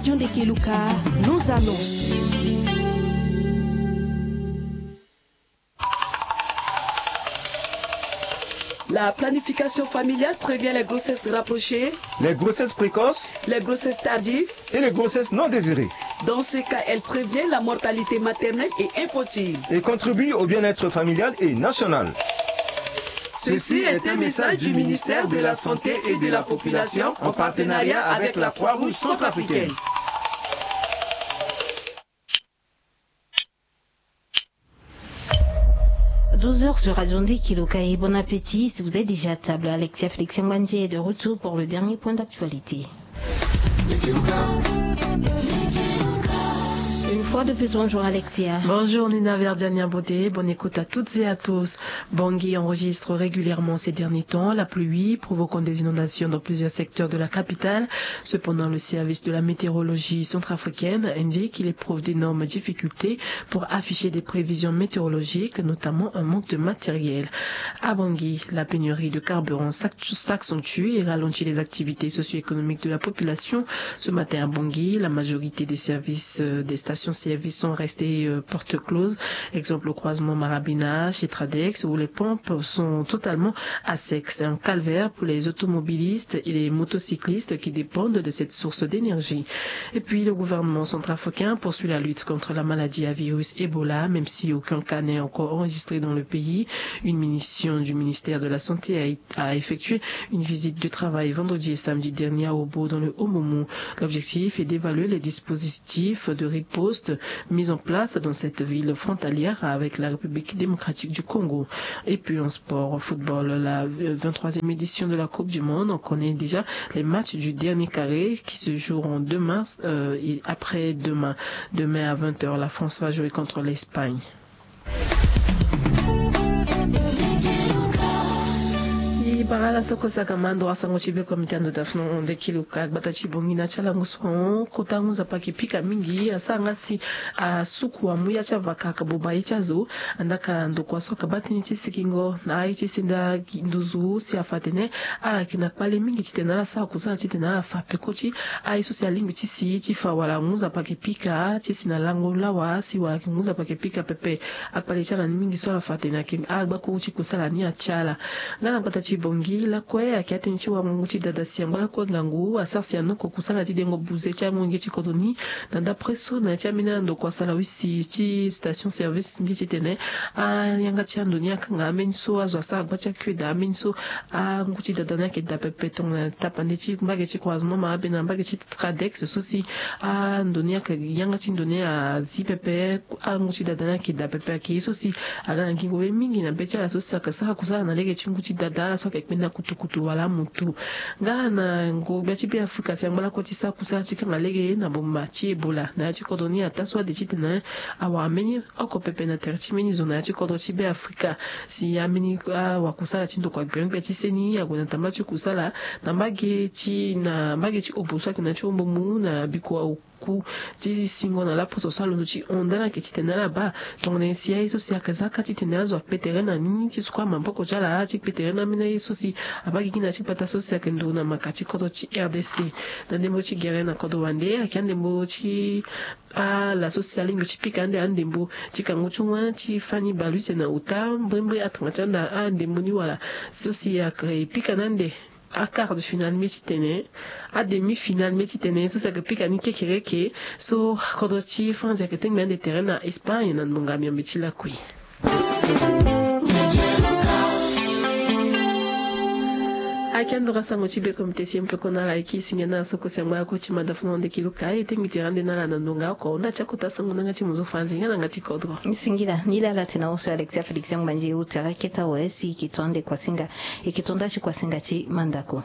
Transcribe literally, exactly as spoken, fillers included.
John de Keluka, nos annonces. La planification familiale prévient les grossesses rapprochées, les grossesses précoces, les grossesses tardives et les grossesses non désirées. Dans ce cas, elle prévient la mortalité maternelle et infantile et contribue au bien-être familial et national. Ceci est un message du ministère de la Santé et de la Population en partenariat avec la Croix-Rouge centrafricaine. Douze heures sur Radio Nde Kiluka et bon appétit si vous êtes déjà à table. Alexia Félix Yangbandier est de retour pour le dernier point d'actualité. Une fois de plus, bonjour Alexia. Bonjour Nina Verdiania Beauté, bonne écoute à toutes et à tous. Bangui enregistre régulièrement ces derniers temps la pluie, provoquant des inondations dans plusieurs secteurs de la capitale. Cependant, le service de la météorologie centrafricaine indique qu'il éprouve d'énormes difficultés pour afficher des prévisions météorologiques, notamment un manque de matériel. À Bangui, la pénurie de carburant s'accentue et ralentit les activités socio-économiques de la population. Ce matin à Bangui, la majorité des services, euh, des stations-service sont restées, euh, porte close. Exemple, au croisement Marabina, chez Tradex, où les pompes sont totalement à sec. C'est un calvaire pour les automobilistes et les motocyclistes qui dépendent de cette source d'énergie. Et puis, le gouvernement centrafricain poursuit la lutte contre la maladie à virus Ebola, même si aucun cas n'est encore enregistré dans le pays. Une mission du ministère de la Santé a été a effectué une visite de travail vendredi et samedi dernier à Obo, dans le Haut-Momou. L'objectif est d'évaluer les dispositifs de riposte mis en place dans cette ville frontalière avec la République démocratique du Congo. Et puis en sport, au football, la vingt-troisième édition de la Coupe du Monde, on connaît déjà les matchs du dernier carré qui se joueront demain, euh, et après-demain. Demain à vingt heures, la France va jouer contre l'Espagne. E bara ala so kue saka ma ndo asango ti be komite ando dafno nde kiluka gbata ti bongi na ti ala ngu so ahon kota ngu nzapa ayeke pika mingi asara nga si asuku amu ya ti avaka aka boba ye ti azo. Andaa ka ndokua so aka baa tënë ti sikingo na aye ti senda nduzu si afa atene ala yeke na kpale mingi titene ala sara kusala titene ala fa peko ti aye so si alingbi ti si ti fa wala ngu nzapa ayeke pika ti si na lango lawa si wala yeke ngu nzapa ayeke pika pepe. Akpale ti ala ni mingi so ala fa atene ayeke agba kuru ti kusala ni atia ala. Nga na gbata ti bongi lakue ayeke atënë ti wango ngu ti dada si angba lakue ngangu asara si anoko kusala ti dengo buze ti amolenge ti kodro ni. Na ndapre so na ya ti ambeni andokua asara wisi ti station service ngi titene ayanga ti ando ni akanga ambeni so azo asara gba ti akue daa ambeni so angu ti dada ni ayeke daa pepe tongana tapande ti mbage ti croisement ma abe na mbage ti Tradex so si ando ni ayeke yanga ti ndo ni azi pepe. Angu ti dada ni ayeke daa pepe ayeke ye so si aga na ngingo be mingi na be ti ala so si ayeke sara kusala na lege ti ngu ti dada ala so ayeke kpenda kutukutu wala amutu. Nga na ngoro gbia ti Beafrika si angba lakue ti sara kusala ti kanga lege na boma ti Ebola na ya ti kodro ni ataa so ade titene awara mbeni oko pepe na tere ti mbeni zo na ya ti kodro ti Beafrika. Si ambeni awakusala ti ndokua gbeon gbia ti seni ague na tambula ti kusala na mbage ti na mbage ti obo so ayeke na ya ti Haut-Momou na bikua oku ti singo na laposo so alondo ti hon nda ni ayeke titene ala baa tongana nyen si aye so si ayeke za kâ titene azo akpe tere na ni ti sukua maboko ti ala ti kpe tere na ambeni aye so si abaa gigi na ya ti gbata so si ayeke nduru na maka ti kodro ti R D C. Na ndembo ti gere na kodro wande ayeke andembo ti ala so si alingbi ti pika ande andembo ti kangu ti wâ ti fani bale use na ota mbrimbri atanga ti anda andembo ni wala so si ayeke pika na ande aquart de finale mbi ti tene ademi finale mbi ti tene so si ayeke pika ni kekereke. So kodro ti France ayeke tengbi ande tere na Espagne na ngbonga miombe ti lakui. Ayeke ando ga sango ti be komite si mpe kona ala yeke e singila na ala so kue si angba lakue ti manda funa nde kiluka e tengbi tere ande na ala na ndonga oko nda ti akota sango na yanga ti mozo faranzi nga na yanga ti kodro. Singila ni laa ala tene na oso Alexia Félix Yangbandier uta keta awe si e ke to ande kuasinga e ke to nda ti kuasinga ti mandako.